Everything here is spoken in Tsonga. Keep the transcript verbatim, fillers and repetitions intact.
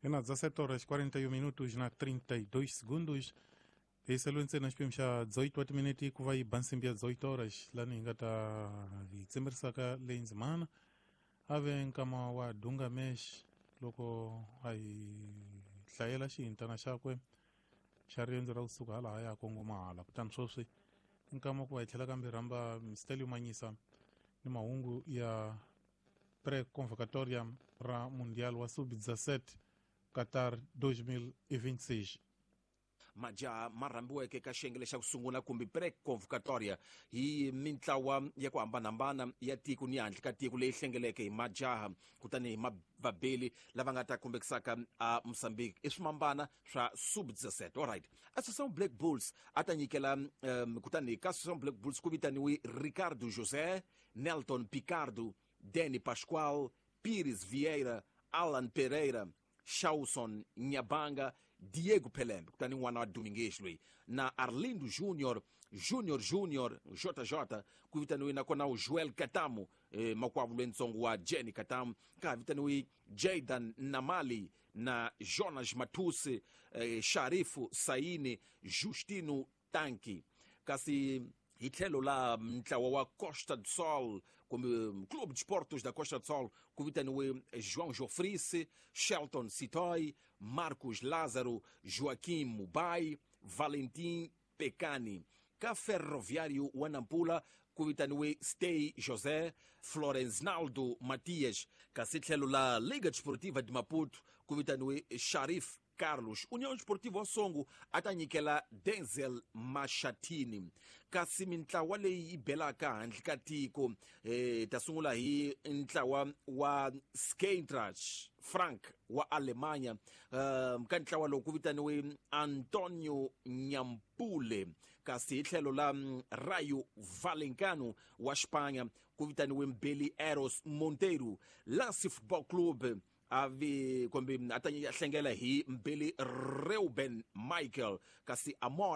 Ena dezassete horas quarenta e um minutos na trinta e dois segundos. Hi ntsena xiphemu xa dezoito wa timinete ku va yi ba nsimbi ya dezoito horas, lani hi nga ta hi tsemerisaka leyi ndzimana a ve nkama wa Dunga Mesh loko a hi hlayela xihintana xakwe xa riendzo ra kusuka hala ya kongoma hala. Kutani sweswi nkama ku va hi tlhela kambe rhamba Stelio Manyisa ni mahungu ya pré-convocatória ra Mundial wa sub dezassete Qatar dois mil e vinte e seis. Majaha ma rhambiweke ka xiyenge lexa ku sungula kumbe pre-convocatoria hi mintlawa ya ku hambanahambana ya tiko ni handle ka tiko leyi hlengeleke hi majaha, kutani hi vabeli lava nga ta kombekisaka a Mozambique i swimambana swa sub dezassete. Alright, Associação Black Bulls a ta nyikela um, kutani ka Associação Black Bulls ku vitaniwe Ricardo José, Nelton Picardo, Danny Pascoal, Pires Vieira, Alan Pereira, Shawson Nyabanga, Diego Pelembe, kutani n'wana wa Domingues loyi, na Arlindo Junior, Junior Junior J J ku vitaniwe, nakona Joel Katamu, eh, makwavo lwentsongo wa Jenny Katamu. Ka ha vitaniwe Jaidan Namali na Jonas Matusi, eh, Sharifu Saini, Justino Tanki. Kasi hi tlhelo la ntlawa wa Costa do Sol kumbe Clube de Esportes da Costa do Sol ku vitaniwe João Jofrice, Shelton Sitoy, Marcos Lázaro, Joaquim Mubai, Valentim Pecani. Ka Ferroviário wa Nampula ku vitaniwe Stey José, Florenznaldo Matias. Kasi tlhelo la Liga Desportiva de Maputo ku vitaniwe Sharif Carlos. União Esportiva Songo a ta nyikela Denzel Mashatini. Kasi mintlawa leyi yi belaka handle ka tiko, eh, ta sungula hi ntlawa wa Eintracht Frank wa Alemanya. um, ka ntlawa lowu ku vitaniwe Antonio Nyampule. Kasi hi tlhelo la Rayo Vallecano wa Xipanya ku vitaniwe Mbeli Eros Monteiro. Lance Football Club avi kumbe a ta hlengela hi Mbeli Reuben Michael. Kasi Amor